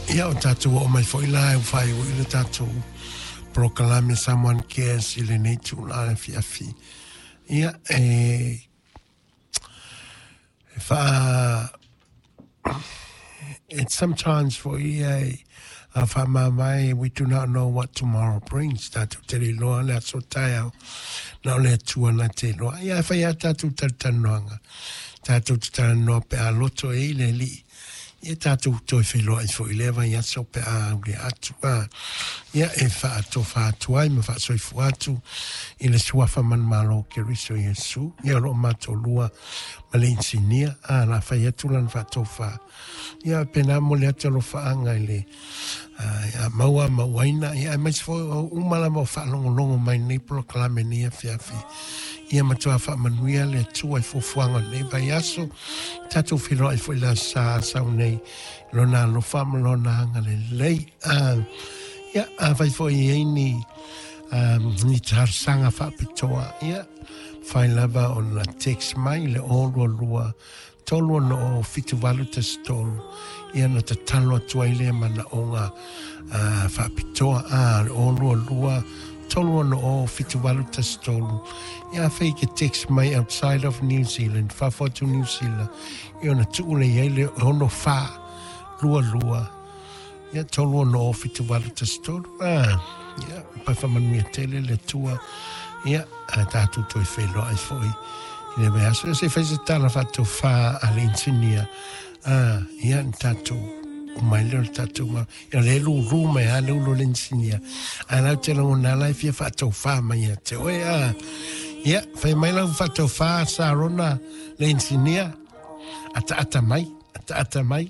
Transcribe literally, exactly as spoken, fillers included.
Ia o tātou o mai foi la e whai o ile tātou polokalame Samoan Cares i lenei tula le fiafi. Ia e e wha it's sometimes for ia e a whamamai, we do not know what tomorrow brings. Tātou te le loa le aso taiao na o le atua na te loa. Ia e whai a tātou tautanoanga. Tātou te talanoa pe a loto e i le li. Ia tātou toi wheloa i fo i lewa i aso pe a ule atu. A. Ia e whaatofa atu ai ma whaasoifu atu i le suafa man malo ke riso Iesu. Ia lo mātou lua ma le insinia. A la whai atu lan whaatofa. Ia pena mo le atu alo whaanga i le a maua mauaina. Ia e mais fo umala mo whaalongolongo mai nei polokalame nei afiafi. Ia matua whaamanuia le atua i fuafuaga o lenei vaiaso. Tatou feiloai foi le aso Sa sau nei lona alofa ma lona agalelei. Ah, ia afai foi i ai ni um, ni talosaga faapitoa. Ia fai lava ona text mai le o lua lua tolu ono o fitu valu tasi tolu. Ia na tatalo atu ai lea manaoga uh, faapitoa. A le o lua lua tolu ono o fitu valu tasi tolu. Ia afai ke text mai outside of New Zealand, fafo atu New Zealand, ia ona tuu le iai le ono wha lua lua. Ia tolu ono o fitu valu tasi tolu. Ah, ia, pai whamanuia tele le tua. Ia, a tātou toi wheloa ai foi. I le vaiaso, se whai se tala whatou wha a le insinia. Ah, ia, ni tātou o mai leo le tātou ma. Ia le lu ru mai a le ulo le insinia. A lau te langona lai fia whatou wha mai ia te oe. Ah, ia, whai mai lau whatou wha sa rona le insinia. Ata ata mai, ata ata mai.